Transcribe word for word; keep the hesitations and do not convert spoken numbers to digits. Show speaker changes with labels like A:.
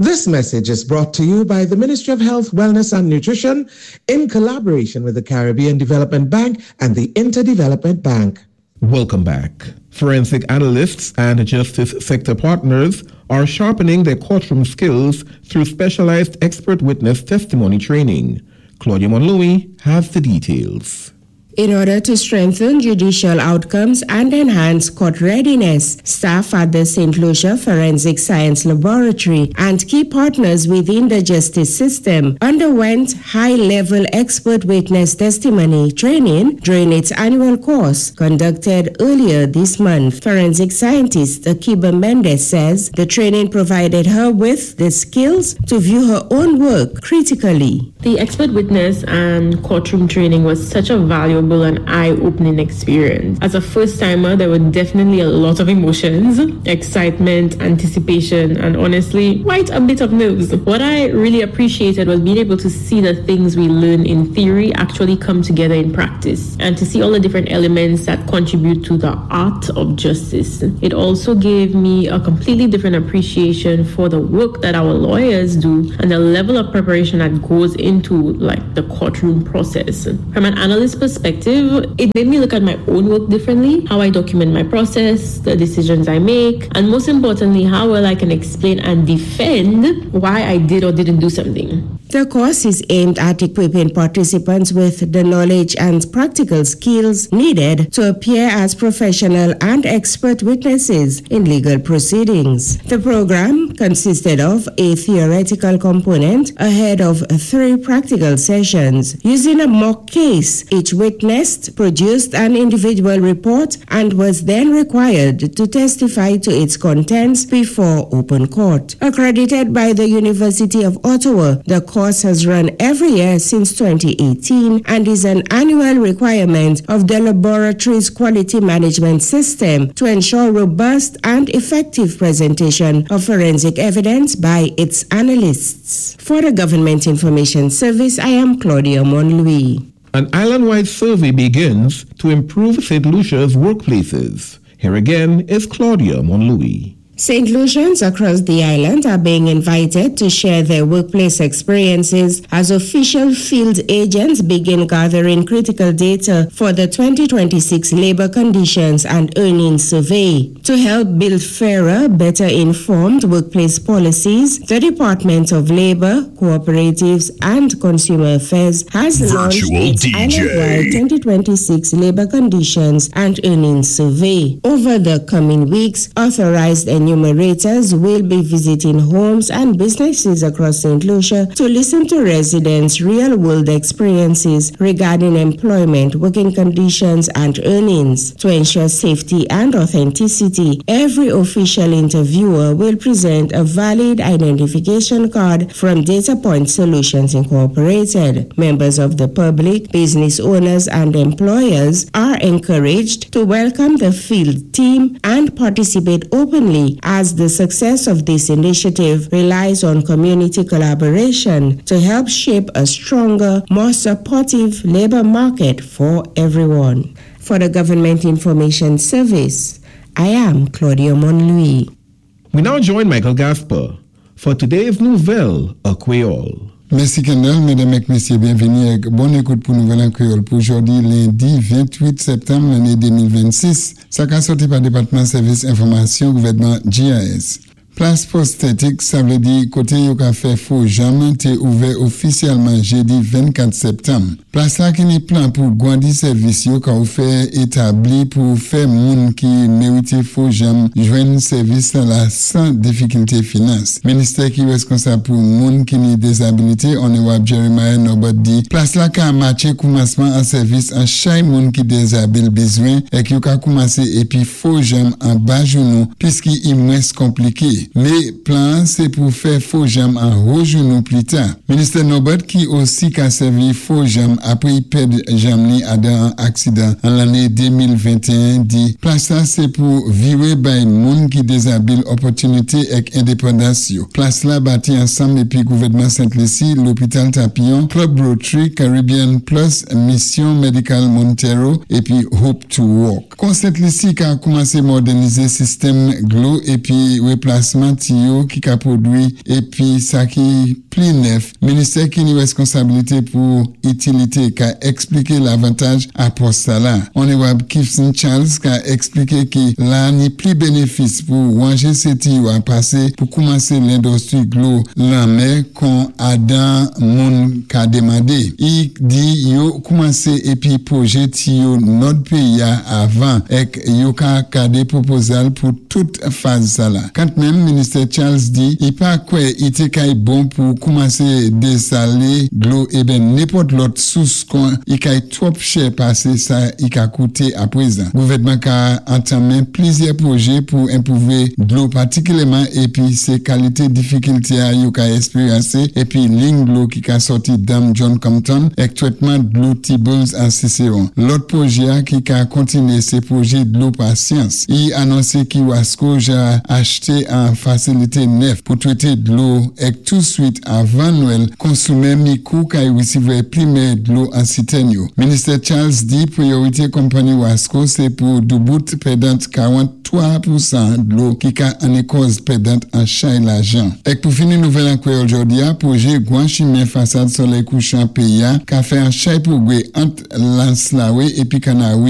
A: This message is brought to you by the Ministry of Health, Wellness and Nutrition in collaboration with the Caribbean Development Bank and the Interdevelopment Bank.
B: Welcome back. Forensic analysts and justice sector partners are sharpening their courtroom skills through specialized expert witness testimony training. Claudia Monlouis has the details.
C: In order to strengthen judicial outcomes and enhance court readiness, staff at the Saint Lucia Forensic Science Laboratory and key partners within the justice system underwent high-level expert witness testimony training during its annual course conducted earlier this month. Forensic scientist Akiba Mendes says the training provided her with the skills to view her own work critically.
D: The expert witness and courtroom training was such a valuable and eye-opening experience. As a first-timer, there were definitely a lot of emotions, excitement, anticipation, and honestly, quite a bit of nerves. What I really appreciated was being able to see the things we learn in theory actually come together in practice, and to see all the different elements that contribute to the art of justice. It also gave me a completely different appreciation for the work that our lawyers do and the level of preparation that goes into like the courtroom process. From an analyst perspective, it made me look at my own work differently, how I document my process, the decisions I make, and most importantly, how well I can explain and defend why I did or didn't do something.
C: The course is aimed at equipping participants with the knowledge and practical skills needed to appear as professional and expert witnesses in legal proceedings. The program consisted of a theoretical component ahead of three practical sessions. Using a mock case, each witness produced an individual report and was then required to testify to its contents before open court. Accredited by the University of Ottawa, the course has run every year since twenty eighteen and is an annual requirement of the laboratory's quality management system to ensure robust and effective presentation of forensic evidence by its analysts. For the Government Information Service, I am Claudia Monlouis.
B: An island-wide survey begins to improve Saint Lucia's workplaces. Here again is Claudia Monlouis.
C: Saint Lucians across the island are being invited to share their workplace experiences as official field agents begin gathering critical data for the twenty twenty-six Labor Conditions and Earnings Survey. To help build fairer, better informed workplace policies, the Department of Labor, Cooperatives and Consumer Affairs has launched
E: Virtual
C: its
E: D J.
C: island-wide twenty twenty-six Labor Conditions and Earnings Survey. Over the coming weeks, authorized enumerators will be visiting homes and businesses across Saint Lucia to listen to residents' real-world experiences regarding employment, working conditions, and earnings. To ensure safety and authenticity, every official interviewer will present a valid identification card from Data Point Solutions Incorporated. Members of the public, business owners, and employers are encouraged to welcome the field team and participate openly, as the success of this initiative relies on community collaboration to help shape a stronger, more supportive labor market for everyone. For the Government Information Service, I am Claudia Monlouis.
B: We now join Michael Gasper for today's Nouvèl an Kwéyòl.
F: Mèsi Kendall, médam èk mésyé, byenvini èk bon ékout pou Nouvèl an Kwéyòl pou jòdi lendi ventwit septanm lanné de mil vennsis. Sa ka sòti pa Dépatman Sèvis Enfòmasyon Gouvèdman G I S. Plas pwostetik, sa vlé di koté yo ka fè fo janm, té ouvè ofisyèlman jédi vennkat septanm. Plas la ki ni plan pou gwandi sèvis yo ka fè établi pou fè moun ki mérité fo janm jwenn sèvis la san difikilté finans. Ministè ki reskonsab pou moun ki ni dezabilité, Onorab Jeremiah Norbert di, plas la ka matché koumansman an sèvis an chay moun ki dezabil bezwen èk yo ka koumansé épi fo janm an ba jounou piski i mwens konpliké. Mé plan sé pou fè fo janm an wo jounou pli ta. Ministè Norbert ki osi ka sèvi fo janm apwé i pèd janm ni adan an aksidan an lanné de mil venteyen di plas la sé pou viwé bay moun ki dezabil opòtinité èk endépandans yo. Plas la bati ansanm épi gouvèdman Sent Lisi, Lopital Tapion, Club Rotary, Caribbean Plus, Mission Medical Montero épi Hope to Walk. Kon Sent Lisi ka koumansé modènizé sistèm dlo épi replasman ranfòsman tiyo ki ka pwodwi épi sa ki pli nèf. Ministè ki ni wèskonsabilité pou itilité ka èkspliké lavantaj apwòch sa la. Onorab Kifson Charles ka èkspliké ki la ni pli bénéfis pou wanje sé tiyo a pasé pou koumansé lendistwi dlo lanmè kon adan moun ka demandé. I di yo koumansé épi pwojé tiyo nòd péyi a avan èk yo ka gadé pwopozal pou tout faz sa la. Kantmenm, Ministè Charles di, i pa kwè i té kay bon pou koumansé désalé dlo eben nenpòt lòt sous kon i kay twòp chè pasé sa i ka kouté apwézan. Gouvèdman ka antanmen plizyè pwojé pou enpwouvé dlo patikilyèman épi sé kalité difikilté a yo ka èkspéryansé épi lign dlo ki ka sòti dam John Compton èk twètman dlo Tibuls an Cicéron. Lòt pwojé a ki ka kontiné sé pwojé dlo Pasyans. I anonsé ki Wasco ja achté an fasilité nèf pou twété dlo èk touswit avan Nwèl konsoumè Micoud kay wisiwè plimè dlo an sitèn yo. Ministè Charles di pwiyorité konpanni Wasco sé pou doubout pèdant karant-twa pousan dlo ki ka anné kòz pèdant an chay lajan. Èk pou fini nouvèl an kwéyòl jòdi a, pwojé gwan chimen fasad solèy kouchan péyi a ka fè an chay pwogwé ant Lans Lawé épi Kanawi.